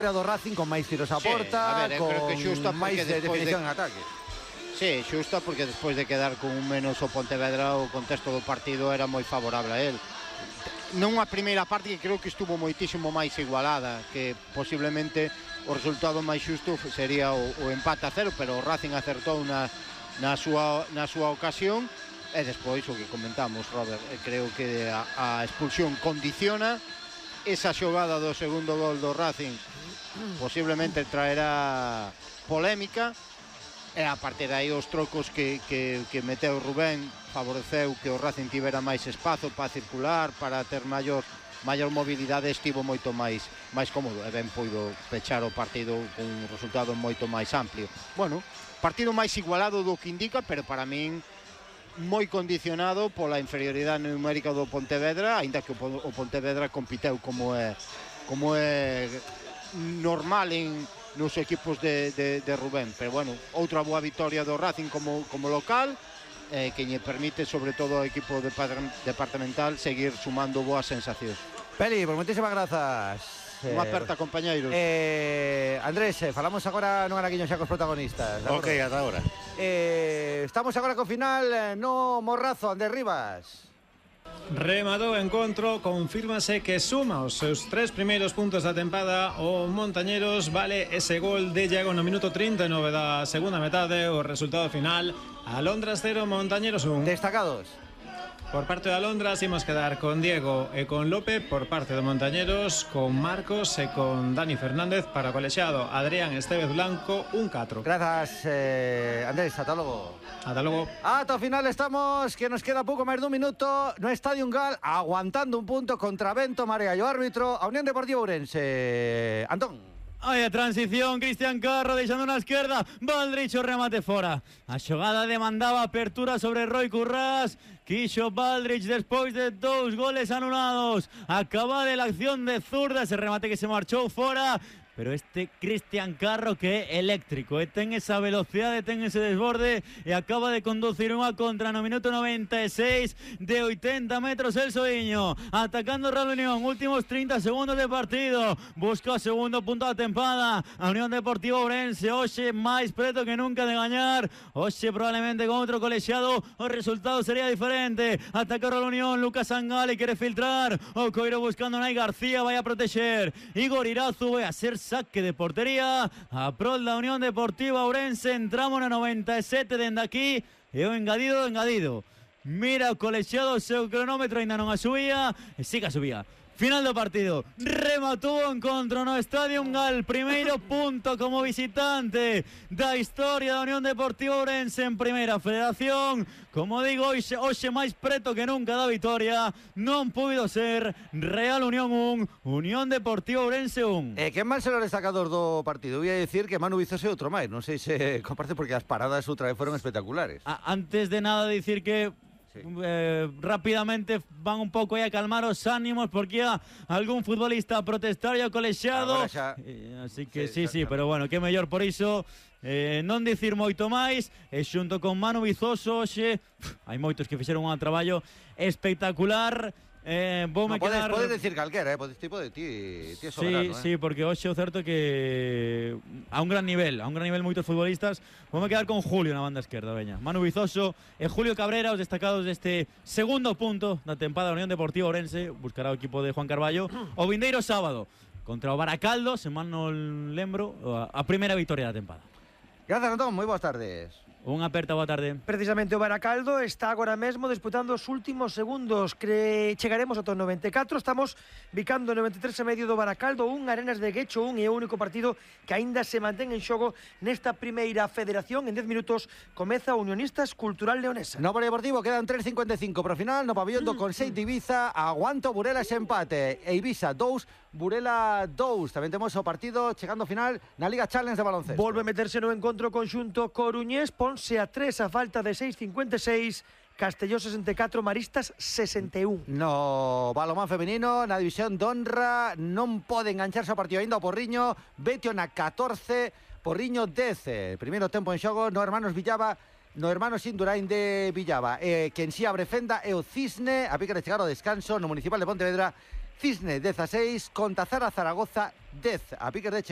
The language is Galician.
do Racing con máis tiros a porta, creo que xusta con máis definición en ataque. Sí, xusta porque despois de quedar con un menos o Pontevedra, o contexto do partido era moi favorable a él. Nunha primeira parte que creo que estuvo moitísimo máis igualada, que posiblemente o resultado máis xusto sería o empate a 0, pero o Racing acertou na súa ocasión. E despois o que comentamos, Robert, creo que a expulsión condiciona. Esa xogada do segundo gol do Racing posiblemente traerá polémica, e a partir de aí os trocos que meteu Rubén favoreceu que o Racing tivera máis espazo para circular, para ter maior mobilidade, estivo moito máis cómodo e ben puido pechar o partido con un resultado moito máis amplio. Bueno, partido máis igualado do que indica, pero para min moi condicionado pola inferioridade numérica do Pontevedra, aínda que o Pontevedra compiteu como é normal nos equipos de Rubén. Pero bueno, outra boa vitoria do Racing como local, que lle permite sobre todo ao equipo departamental seguir sumando boas sensacións. Peli, pues moitísimas grazas. Unha aperta, compañeiros. Andrés, falamos agora non araquiño xa cos protagonistas. Ok, ata agora. Estamos agora co final no Morrazo, Andrés Rivas. Rematou o encontro, confírmase que suma os seus 3 primeiros puntos da tempada o Montañeros. Vale ese gol de Iago no minuto 39 da segunda metade. O resultado final: Alondras 0, Montañeros 1. Destacados. Por parte de Alondras imos quedar con Diego e con Lope. Por parte de Montañeros, con Marcos e con Dani Fernández. Para o colexiado, Adrián Estevez Blanco, un 4. Grazas, Andrés, ata logo. Ata logo. Ata o final estamos, que nos queda pouco máis dun minuto no Estadio Gal, aguantando un punto contra Vento Marea e o árbitro, a Unión Deportiva Ourense. Antón. Hai a transición, Cristian Carro deixando na esquerda, Valdrich o remate fora. A xogada demandaba apertura sobre Roi Currás. Quixo Valdrich despois de 2 goles anulados. Acaba de la acción de zurda, ese remate que se marchou fora. Pero este Cristian Carro que é eléctrico, ten esa velocidade, ten ese desborde e acaba de conducir unha contra no minuto 96 de 80 metros el Soiño, atacando Real Unión, últimos 30 segundos de partido, busca o segundo punto da tempada, a Unión Deportiva Ourense, hoxe máis preto que nunca de gañar, hoxe probablemente con outro colexiado o resultado sería diferente, ataca Real Unión, Lucas Angale quere filtrar, o Coiro buscando Nai García, vai a protexer, Igor Irazu vai a ser saque de portería a prol da Unión Deportiva Ourense. Entramos na 97 dende aquí e o engadido. Mira o colexiado, o seu cronómetro ainda non a subía e siga a subía. Final do partido, rematou o encontro no Estadio Gal, primeiro punto como visitante da historia da Unión Deportiva Ourense en Primeira Federación. Como digo, hoxe máis preto que nunca da vitoria, non puido ser. Real Unión 1, Unión Deportiva Ourense 1. Que mal ser o destacador do partido? Voy a decir que Manu Vizoso e outro máis, non sei se comparte porque as paradas outra vez foron espectaculares. Antes de nada dicir que sí. Rápidamente van un pouco aí a calmar os ánimos porque há algún futbolista a protestar e ao colexiado así que sí, pero bueno, que mellor por iso non dicir moito máis e xunto con Manu Vizoso hoxe hai moitos que fixeron un traballo espectacular. Podes decir calquera, tipo de ti é soberano. Sí, porque hoxe o certo que a un gran nivel moitos futbolistas. Vou quedar con Julio na banda esquerda, veña. Manu Vizoso e Julio Cabrera, os destacados deste segundo punto da tempada da Unión Deportiva Ourense. Buscará o equipo de Juan Carballo o vindeiro sábado contra o Baracaldo, se mal non lembro, a primeira vitoria da tempada. Grazas, Antón, moi boas tardes. Unha aperta, boa tarde. Precisamente o Baracaldo está agora mesmo disputando os últimos segundos. Chegaremos ata o 94. Estamos bicando o 93 e medio do Baracaldo 1, Arenas de Guecho 1, e o único partido que aínda se mantén en xogo nesta primeira federación. En 10 minutos comeza o Unionistas Cultural Leonesa. No Polideportivo quedan 3.55 pro final. No pabillón do Conceito de Ibiza, aguanto Burela ese empate. E Ibiza 2, Burela 2. Tamén temos o partido chegando ao final na Liga Challenge de baloncesto. Volve a meterse no encontro conxunto coruñés. Ponse a 3 a falta de 6.56. Castelló 64, Maristas 61. No balomán femenino, na división de honra, non pode engancharse ao partido aínda o Porriño. Betio na 14, Porriño 10. Primeiro tempo en xogo no Hermanos Villaba, no Hermanos Indurain de Villaba. Quen si abre fenda é o Cisne, a pique de chegar ao descanso no Municipal de Pontevedra. Cisne 16, Contazara Zaragoza 10, a pique de chegar